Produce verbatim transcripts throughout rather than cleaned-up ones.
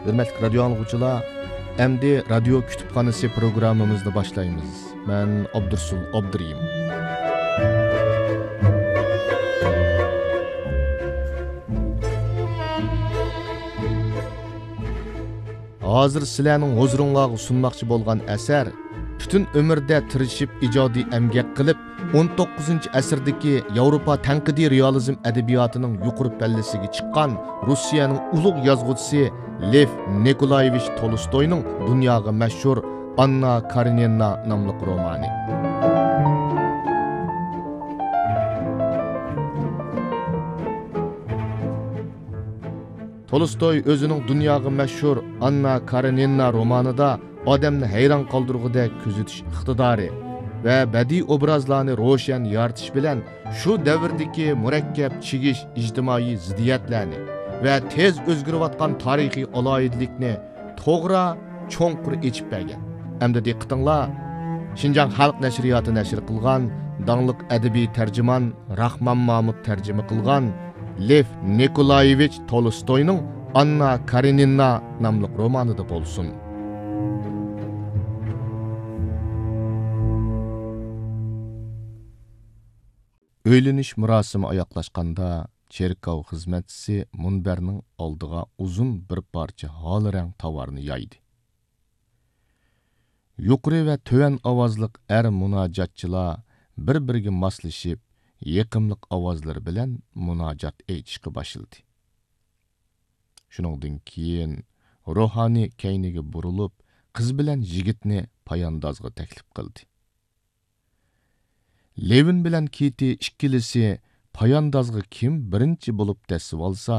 ھۆرمەتلىك رادىيو ئاڭلىغۇچىلار، ئەمدى رادىيو كۇتۇپخانىسى پروگراممىمىزنى باشلايمىز. مەن ئابدۇرسۇل ئابدۇرېھىم. ھازىر سىلەرنىڭ ھۇزۇرۇڭلارغا سۇنماقچى بولغان ئەسەر پۈتۈن ئۆمرىدە تىرىشىپ ئىجادىي ئەمگەك قىلىپ، ئون توققۇزىنچى ئەسىردىكى ياۋروپا تەنقىدىي رېئالىزم ئەدەبىياتىنىڭ يۇقىرى پەللىسىگە چىققان روسىيەنىڭ ئۇلۇغ يازغۇچىسى لېف نىكولايېۋىچ تولستوينىڭ دۇنياغا مەشھۇر ئاننا كارېنىنا ناملىق رومانى. تولستوي ئۆزىنىڭ دۇنياغا مەشھۇر ئاننا كارېنىنا رومانىدا ئادەمنى ھەيران قالدۇرغۇدەك كۆزىتىش ئىقتىدارى ۋە بەدىئىي ئوبرازلارنى روشەن يارىتىش بىلەن شۇ دەۋردىكى مۇرەككەپ چىگىش ئىجتىمائىي زىددىيەتلەرنى ۋە تېز ئۆزگىرىۋاتقان تارىخىي ئالاھىدىلىكنى توغرا، چوڭقۇر ئېچىپ بەرگەن. ئەمدى دىققىتىڭلار، شىنجاڭ خەلق نەشرىياتى نەشر قىلغان داڭلىق ئەدەبىي تەرجىمان راخمان مامۇت تەرجىمە قىلغان لېف نىكولايېۋىچ تولستوينىڭ ئاننا كارېنىنا ناملىق رومانىدا بولسۇن. ئۆيلىنىش مۇراسىمى ئاياغلاشقاندا، چېركاۋ خىزمەتچىسى مۇنبەرنىڭ ئالدىغا ئۇزۇن بىر پارچە ھال رەڭ تاۋارنى يايدى. يۇقىرى ۋە تۆۋەن ئاۋازلىق ئەر مۇناجاتچىلار بىر-بىرىگە ماسلىشىپ، يېقىملىق ئاۋازلىرى بىلەن مۇناجات ئېيتىشقا باشلىدى. شۇنىڭدىن كېيىن روھانى كەينىگە بۇرۇلۇپ، قىز بىلەن يىگىتنى پاياندازغا تەكلىپ قىلدى. لېۋىن بىلەن كىتى ئىككىلىسى پاياندازغا كىم بىرىنچى بولۇپ دەسسىۋالسا،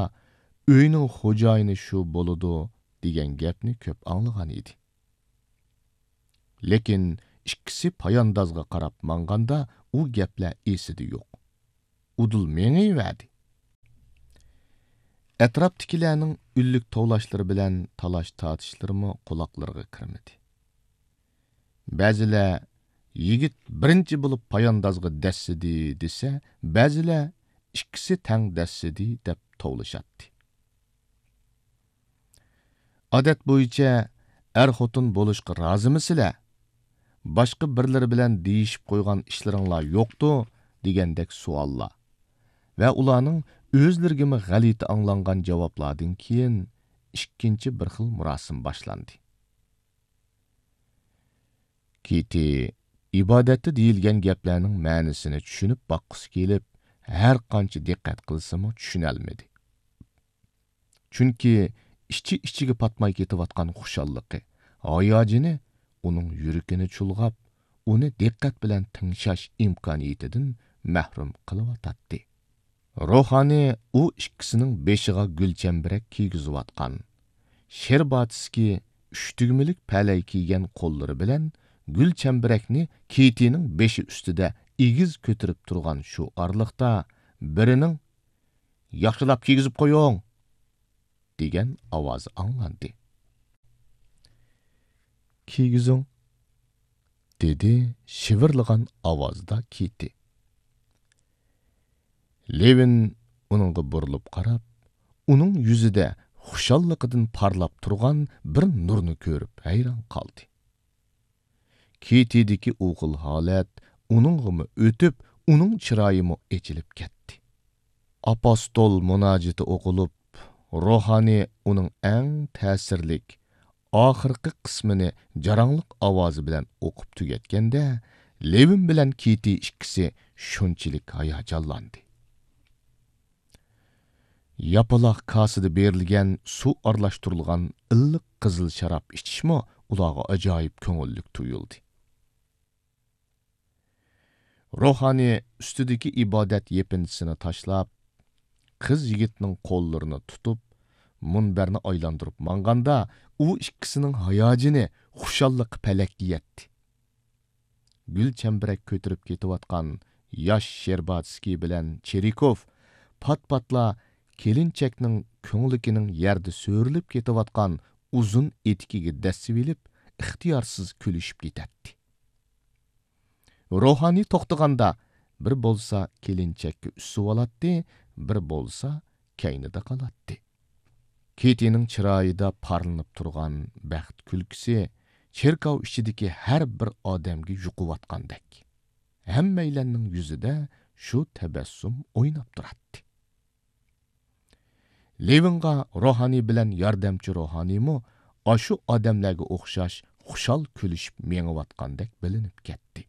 ئۆينىڭ خوجايىنى شۇ بولىدۇ، دېگەن گەپنى كۆپ ئاڭلىغان ئىدى. لېكىن ئىككىسى پاياندازغا قاراپ ماڭغاندا، ئۇ گەپلەر ئېسىدە يوق. ئۇدۇل مېڭىۋەردى. ئەتراپتىكىلەرنىڭ ئۈنلۈك توۋلاشلىرى بىلەن تالاش-تارتىشلىرىمۇ قۇلاقلىرىغا كىرمىدى. بەزىلەر «يىگىت بىرىنچى بولۇپ پاياندازغا دەسسىدى» دېسە، بەزىلەر «ئىككىسى تەڭ دەسسىدى» دەپ توۋلىشاتتى. ئادەت بويىچە «ئەر-خوتۇن بولۇشقا رازىمىسىلەر؟ باشقا بىرلىرى بىلەن دېيىشىپ قويغان ئىشلىرىڭلار يوقتۇ؟» دېگەندەك سوئاللار ۋە ئۇلارنىڭ ئۆزلىرىگىمۇ غەلىتە ئاڭلانغان جاۋابلاردىن كېيىن، ئىككىنچى بىر خىل مۇراسىم باشلاندى. كىتى ئىبادەتتە دېيىلگەن گەپلەرنىڭ مەنىسىنى چۈشىنىپ باققۇسى كېلىپ، ھەر قانچە دىققەت قىلسىمۇ چۈشىنەلمىدى. چۈنكى ئىچى-ئىچىگە پاتماي كېتىۋاتقان خۇشاللىقى، ھاياجىنى ئۇنىڭ يۈرىكىنى چۇلغاپ، ئۇنى دىققەت بىلەن تىڭشاش ئىمكانىيىتىدىن مەھرۇم قىلىۋاتاتتى. روھانى ئۇ ئىككىسىنىڭ بېشىغا گۈلچەمبىرەك كىيگۈزۈۋاتقان، شېرباتسكىي ئۈچ تۈگمىلىك پەلەي كىيگەن قوللىرى بىلەن گۈلچەمبىرەكنى كىتىنىڭ بېشى ئۈستىدە ئېگىز كۆتۈرۈپ تۇرغان شۇ ئارىلىقتا، بىرىنىڭ «ياخشىلاپ كىيگۈزۈپ قويۇڭ!» دېگەن ئاۋازى ئاڭلاندى. «كىيگۈزۈڭ!» دېدى شىۋىرلىغان ئاۋازدا كىتى. لېۋىن ئۇنىڭغا بۇرۇلۇپ قاراپ، ئۇنىڭ يۈزىدە خۇشاللىقىدىن پارلاپ تۇرغان بىر نۇرنى كۆرۈپ ھەيران قالدى. كىتىدىكى ئۇ خىل ھالەت ئۇنىڭغىمۇ ئۆتۈپ، ئۇنىڭ چىرايىمۇ ئېچىلىپ كەتتى. ئاپوستول مۇناجىتى ئوقۇلۇپ، روھانى ئۇنىڭ ئەڭ تەسىرلىك، ئاخىرقى قىسمىنى جاراڭلىق ئاۋازى بىلەن ئوقۇپ تۈگەتكەندە، لېۋىن بىلەن كىتى ئىككىسى شۇنچىلىك ھاياجانلاندى. ياپىلاق كاسىدا بېرىلگەن سۇ ئارىلاشتۇرۇلغان ئىللىق قىزىل شاراب ئىچىشمۇ ئۇلارغا ئاجايىپ كۆڭۈللۈك تۇيۇلدى. روھانى ئۈستىدىكى ئىبادەت يېپىنچىسىنى تاشلاپ، قىز يىگىتنىڭ قوللىرىنى تۇتۇپ، مۇنبەرنى ئايلاندۇرۇپ ماڭغاندا، ئۇ ئىككىسىنىڭ ھاياجىنى، خۇشاللىقى پەلەككە يەتتى. گۈل چەمبىرەك كۆتۈرۈپ كېتىۋاتقان ياش شېرباتسكىي بىلەن چېرىكوف پات-پاتلا كېلىنچەكنىڭ كۆڭلىكىنىڭ يەردە سۆرىلىپ كېتىۋاتقان ئۇزۇن ئېتىكىگە دەسسىۋېلىپ، ئىختىيارسىز كۈلۈشۈپ كېتەتتى. روھانى توختىغاندا، بىر بولسا كېلىنچەككە ئۈسۈۋالاتتى، بىر بولسا كەينىدە قالاتتى. كېتىنىڭ چىرايىدا پارلىنىپ تۇرغان بەخت كۈلكىسى چېركاۋ ئىچىدىكى ھەر بىر ئادەمگە يۇقۇۋاتقاندەك، ھەممەيلەننىڭ يۈزىدە شۇ تەبەسسۇم ئويناپ تۇراتتى. لېۋىنغا روھانىي بىلەن ياردەمچى روھانىيمۇ ئاشۇ ئادەملەرگە ئوخشاش خۇشال كۈلۈشۈپ مېڭىۋاتقاندەك بىلىنىپ كەتتى.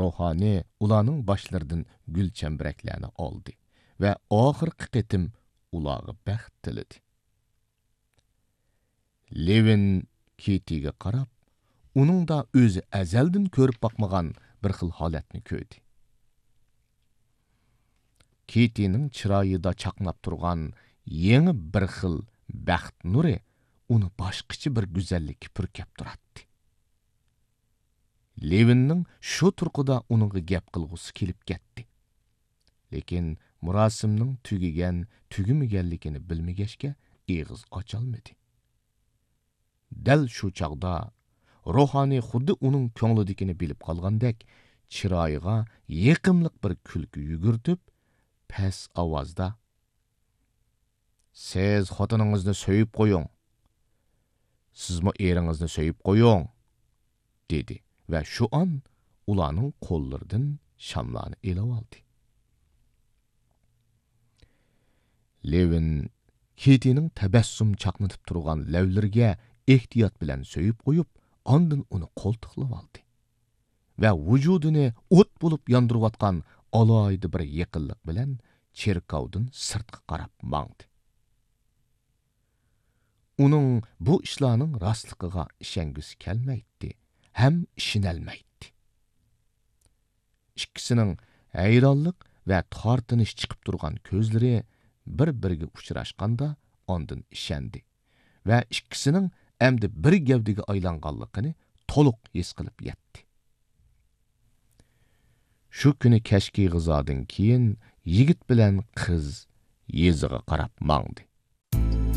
روھانىي ئۇلارنىڭ باشلىرىدىن گۈل چەمبىرەكلەرنى ئالدى ۋە ئاخىرقى قېتىم ئۇلارغا بەخت تىلىدى. لېۋىن كېتىگە قاراپ، ئۇنىڭدا ئۆزى ئەزەلدىن كۆرۈپ باقمىغان بىر خىل ھالەتنى كۆردى. كېتىنىڭ چىرايىدا چاقناپ تۇرغان يېڭى بىر خىل بەخت نۇرى ئۇنى باشقىچە بىر گۈزەللىككە پۈركەپ تۇراتتى. لېۋىننىڭ شۇ تۇرقىدا ئۇنىڭغا گەپ قىلغۇسى كېلىپ كەتتى. لېكىن مۇراسىمنىڭ تۈگىگەن، تۈگىمىگەنلىكىنى بىلمىگەچكە، ئېغىز ئاچالمىدى. دەل شۇ چاغدا روھانىي خۇددى ئۇنىڭ كۆڭلىدىكىنى بىلىپ قالغاندەك، چىرايىغا يېقىملىق بىر كۈلكە يۈگۈرتۈپ، پەس ئاۋازدا، «سىز خوتۇنىڭىزنى سۆيۈپ قويۇڭ. سىزمۇ ئېرىڭىزنى سۆيۈپ قويۇڭ» دېدى ۋە شۇ ئان ئۇلارنىڭ قوللىرىدىن شاملارنى ئېلىۋالدى. لېۋىن كېتىنىڭ تەبەسسۇم چاقنىتىپ تۇرغان لەۋلىرىگە ئېھتىيات بىلەن سۆيۈپ قويۇپ، ئاندىن ئۇنى قولتۇقلىۋالدى ۋە ۋۇجۇدىنى ئوت بولۇپ ياندۇرۇۋاتقان ئالاھىدە بىر يېقىنلىق بىلەن چېركاۋدىن سىرتقا قاراپ ماڭدى. ئۇنىڭ بۇ ئىشلارنىڭ راستلىقىغا ئىشەنگۈسى كەلمەيتتى ھەم ئىشىنەلمەيتتى. ئىككىسىنىڭ ھەيرانلىق ۋە تارتىنىش چىقىپ تۇرغان كۆزلىرى بىر-بىرىگە ئۇچراشقاندا ئاندىن ئىشەندى ۋە ئىككىسىنىڭ ئەمدى بىر گەۋدىگە ئايلانغانلىقىنى تولۇق ھېس قىلىپ يەتتى. شۇ كۈنى كەچكى غىزادىن كېيىن يىگىت بىلەن قىز يېزىغا قاراپ ماڭدى.